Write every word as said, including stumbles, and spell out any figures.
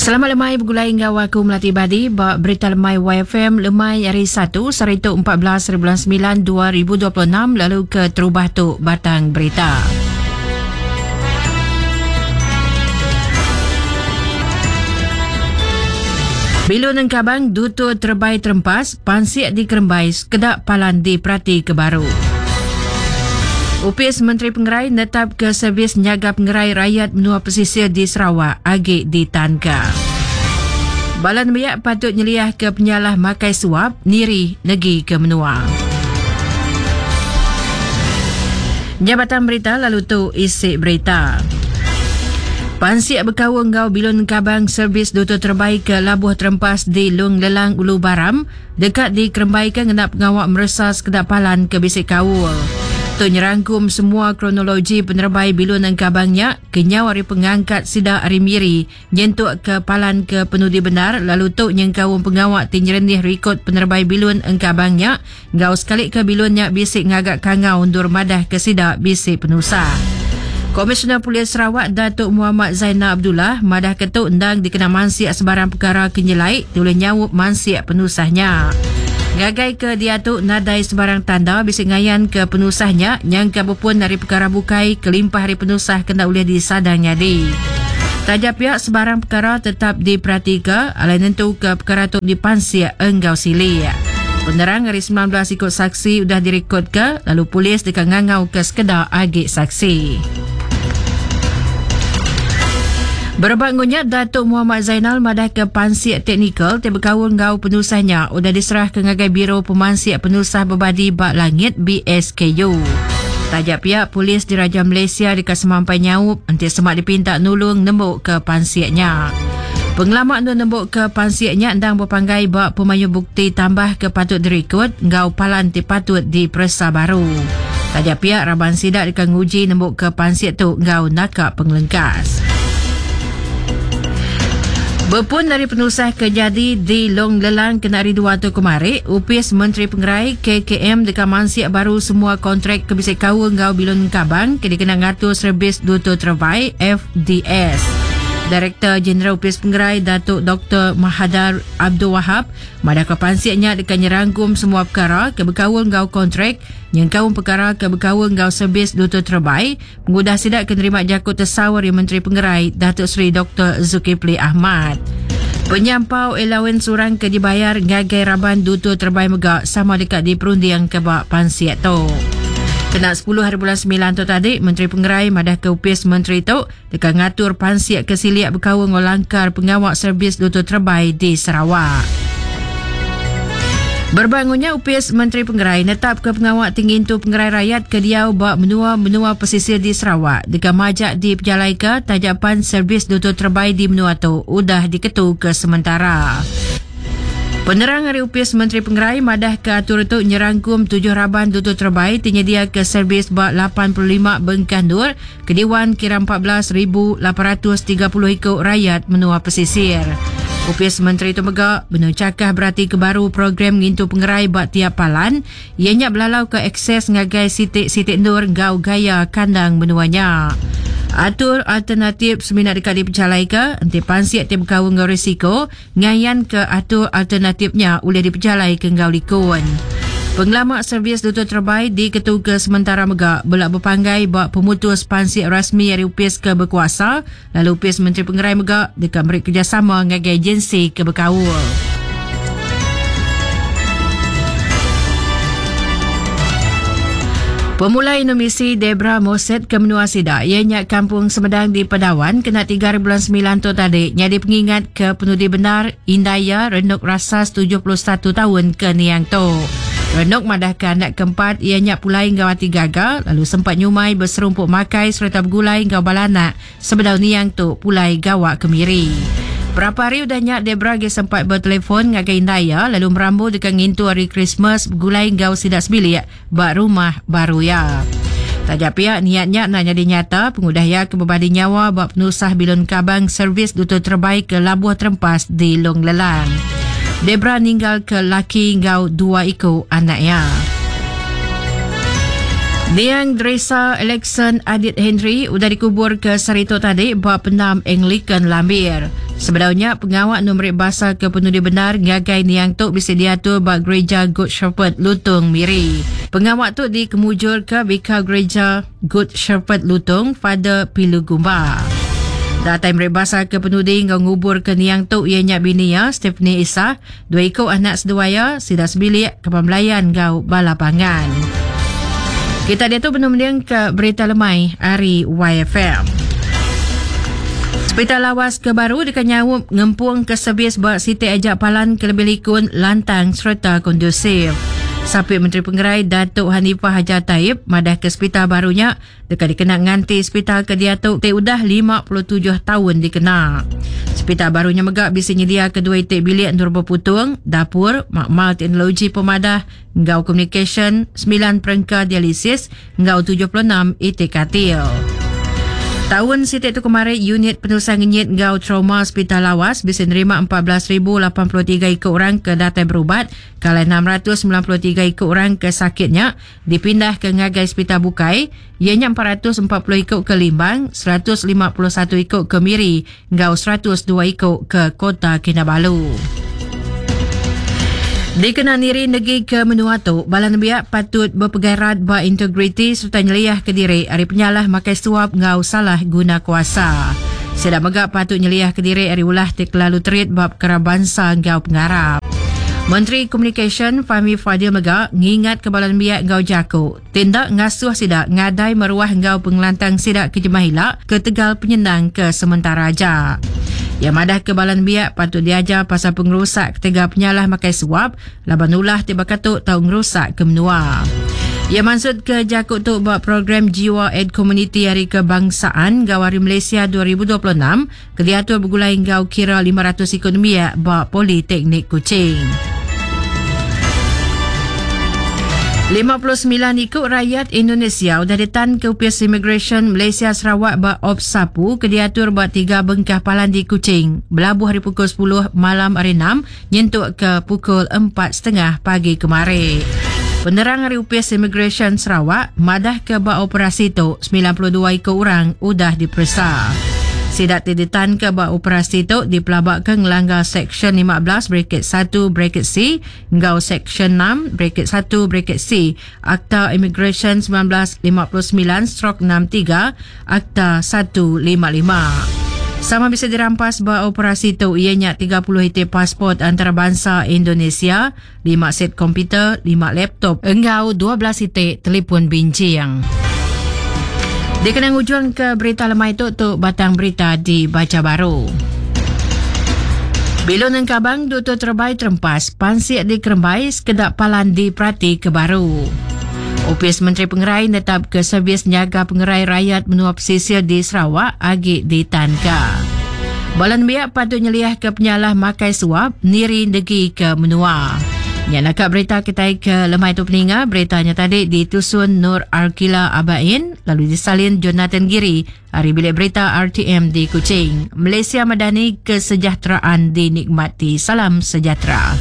Selamat lemai bergulai enggau aku Melati Badi ba Berita Lemai Y F M lemai hari Satu saritu empat belas bulan sembilan dua ribu dua puluh enam lalu ke terubah tu batang berita. Bilun Engkabang Dutur Terbai Terempas, Pansik di Kerembai, Sekedak Palan di Perati ke Baru. Upis Menteri Pengerai netap ke servis nyaga pengerai rakyat menua pesisir di Sarawak agi ditanka. Bala nembiak patut nyeliah ke penyalah makai suap niri negi ke menua. Jabatan berita lalu tu isi berita. Pansik berkaul enggau bilun kabang servis Dutur Terbaik ke Labuh Terempas di Long Lelang Ulu Baram dekat dikerembaikan ngena pengawak meresa sekedak palan ke bisik kaul. Tu nyerangkum semua kronologi penerbai bilun engkabangnya kenyau hari pengangkat sida hari miri nyentuk ke palan ke penudi benar lalu tu nyengkaum pengawak tinyerenih rekod penerbai bilun engkabangnya ngau sekali ke bilunnya bisik ngagak kangau undur madah ke sida bisik penusah. Komisioner Polis Sarawak Datuk Muhammad Zainal Abdullah madah ketuk endang dikena mansiak sebarang perkara kenyelai tulis nyawup mansiak penusahnya. Ngagai ke dia tu nadai sebarang tanda bisik ngayan ke penusahnya nyangka berpun dari perkara bukai kelimpah hari penusah kena boleh disadang nyadi. Taja pihak sebarang perkara tetap diperhatika alai nentu ke perkara tu dipansiak enggau silik. Penerang hari sembilan belas ikut saksi sudah direkod ke lalu polis dekat ngangau ke sekedar agi saksi. Berebak ngunyat Datuk Muhammad Zainal madah ke pansiak teknikal ti berkaul ngau penusahnya udah diserah ke ngagai Biro Pemansiak Penusah Berbadi Bak Langit B S K U. Tajak pihak polis Diraja Malaysia dekat semampai nyaup enti semak dipinta nulung nembuk ke pansiaknya. Pengelamak nu nembuk ke pansiaknya endang berpanggai bak pemayu bukti tambah ke patut direkod ngau palan ti patut diperesa baru. Tajak pihak raban sidak dekat nguji nembuk ke pansiak tu ngau nakak pengelengkas. Berpun dari penusah kejadi di Long Lelang kena hari dua tu kemari, Upis Menteri Pengerai K K M dekat mansiak baru semua kontrak kebisik kaul ngau bilun kabang ke dikena ngatur servis Dutur Terbaik F D S. Direktur Jeneral Upis Pengerai Datuk Doktor Mahadar Abdul Wahab madah ke pansiaknya dekat nyerangkum semua perkara ke berkaul ngau kontrak yang kaum perkara ke berkaul ngau servis Dutur Terbaik mengudah sidak kenerima jakut tersawar Menteri Pengerai Datuk Seri Doktor Zulkifli Ahmad. Penyampau allowance orang ke dibayar ngagai raban Dutur Terbaik megak sama dekat di perundiang ke bak pansiak tu. Kena sepuluh hari bulan sembilan tu tadi, Menteri Pengerai madah ke upis Menteri tu dekat ngatur pansiak ke siliak berkaul ngau langkar pengawak servis Dutur Terbaik di Sarawak. Berbangunnya upis Menteri Pengerai netap ke pengawak tinggi tu pengerai rakyat ke diau bak menua-menua pesisir di Sarawak dekat majak di pejalai ke tajapan servis Dutur Terbaik di menua tu udah diketu ke sementara. Penerang hari upis Menteri Pengerai madah ke atur tu nyerangkum tujuh raban Dutur Terbaik tinyedia ke servis bak lapan puluh lima bengkandur ke Dewan kira empat belas ribu lapan ratus tiga puluh ikut rakyat menua pesisir. Upis Menteri tu megak benar cakah berarti ke baru program ngintu pengerai bak tiap palan ianya belalau ke akses ngagai sitik-sitik nur gau gaya kandang menuanya. Atur alternatif seminat dekat dipercalai ke enti pansiak ti berkaul ngau risiko ngayan ke atur alternatifnya boleh dipercalai ke ngau likun. Pengelamak servis Dutur Terbaik diketu ke sementara megak belak berpanggai bak pemutus pansiak rasmi dari upis ke berkuasa lalu upis Menteri Pengerai megak dekat beri kerjasama ngagai agensi ke berkaul. Pemulai Indonesia Debra Moset ke menua Sidak ianya Kampung Semedang di Padawan kena tiga bulan sembilan tu tadi nyadi pengingat ke penudi benar Indaya Renuk Rasas tujuh puluh satu tahun ke Niang tu. Renuk madahkan anak keempat ianya pulai ngau hati gagal lalu sempat nyumai berserumpuk makai serta bergulai ngau balanak sebedau Niang tu pulai gawak kemiri. Berapa hari udah nyak Debra ge sempat bertelefon ngagai Indaya lalu merambu dekat ngintu hari Christmas bergulai ngau sidak sebilik bak rumah baru ya. Tajak pihak niatnya nak jadi nyata pengudah ya kebebadi nyawa bak penusah bilun kabang servis Dutur Terbaik ke Labuh Terempas di Long Lelang. Debra ninggal ke laki ngau dua iko anaknya. Niang Dresa Alexon Adit Henry udah dikubur ke Sarito tadi ba pendam Anglican Lambir. Sebenarnya pengawak nombor bahasa ke penudi benar ngagai niang tu bisa diatur ba Gereja Good Shepherd Lutung Miri. Pengawak tu dikemujur ke Bika Gereja Good Shepherd Lutung Father Pilu Gumba. Datai meri bahasa ke penudi ngau ngubur ke niang tu ianya bini ya Stephanie Isa, dua ikut anak seduaya sida sebilik ke pembelayan ngau bala pangan. Kita dia tu benar-benar ke berita lemai hari Y F M. Hospital Lawas ke baru dekat nyawup ngempung ke servis buat Siti Ajak Palan ke lebih likun, lantang serta kondusif. Sapit Menteri Pengerai Datuk Hanifah Hajar Taib madah ke hospital barunya dekat dikena nganti hospital ke dia tu te udah lima puluh tujuh tahun dikena. Hospital barunya megak bisa nyedia kedua itik bilik nur berputung, dapur, makmal teknologi pemadah, ngau communication, sembilan perengka dialisis, ngau tujuh puluh enam itik katil. Tahun sitik tu kemarin, unit penulisan ngenyit ngau trauma Hospital Lawas bisa nerima empat belas ribu lapan puluh tiga ikut orang ke datai berubat, kalau enam ratus sembilan puluh tiga ikut orang ke sakitnya dipindah ke ngagai Hospital Bukai, ianya empat ratus empat puluh ikut ke Limbang, seratus lima puluh satu ikut ke Miri, ngau seratus dua ikut ke Kota Kinabalu. Dikenal niri negeri ke menua tu, bala nembiak patut berpegai ba integriti serta nyeliah ke diri ari penyalah makai suap ngau salah guna kuasa. Sedak megak patut nyeliah ke diri ari ulah ti kelalu terit bab perkara bangsa ngau pengarap. Menteri Komunikasi Fahmi Fadil megak ngingat ke bala nembiak ngau jaku, tindak ngasuh sidak ngadai meruah ngau pengelantang sidak ke jemah hilak ke tegal penyenang ke sementara aja. Yang madah ke balan biak patut diajar pasal pengerusak ketiga penyalah makai suap laban ulah tiba katuk tau ngerusak ke menua. Ia maksud ke jakut tu buat program Jiwa Ed Community Hari Kebangsaan Gawari Malaysia dua ribu dua puluh enam ke diatur bergulai ngau kira lima ratus ekonomi buat Politeknik Kuching. lima puluh sembilan ikut rakyat Indonesia sudah ditan ke Upis Immigration Malaysia Sarawak ba Op Sapu ke diatur buat tiga bengkah palan di Kuching. Belabuh hari pukul sepuluh malam hari enam nyentuk ke pukul empat setengah pagi kemarin. Penerang hari Upis Immigration Sarawak madah ke ba operasi tu sembilan puluh dua ikut orang udah diperiksa. Sidak ditan ke ba operasi tu dipelabak ke ngelanggar Seksyen lima belas bracket satu bracket C ngau Seksyen enam bracket satu bracket C Akta Immigration sembilan belas lima puluh sembilan stroke enam tiga Akta satu lima lima. Sama bisa dirampas ba operasi tu ianya tiga puluh itik pasport antarabangsa Indonesia, lima set komputer, lima laptop engau dua belas itik telefon bincang. Dikenang ujung ke berita lemai tu, tu batang berita dibaca baru. Bilun engkabang duta terbaik terempas, pansik di Kerembai, sekedak palan di Prati ke baru. Opis Menteri Pengerai netap ke servis nyaga pengerai rakyat menua pesisir di Sarawak agi di Tanka. Balan biak patut nyeliah ke penyalah makai suap niri negi ke menua. Ya, nak berita kita ke lemai tu peninga, beritanya tadi ditusun Nur Arkila Abain, lalu disalin Jonathan Giri, hari bilik berita R T M di Kuching. Malaysia Madani, kesejahteraan dinikmati. Salam sejahtera.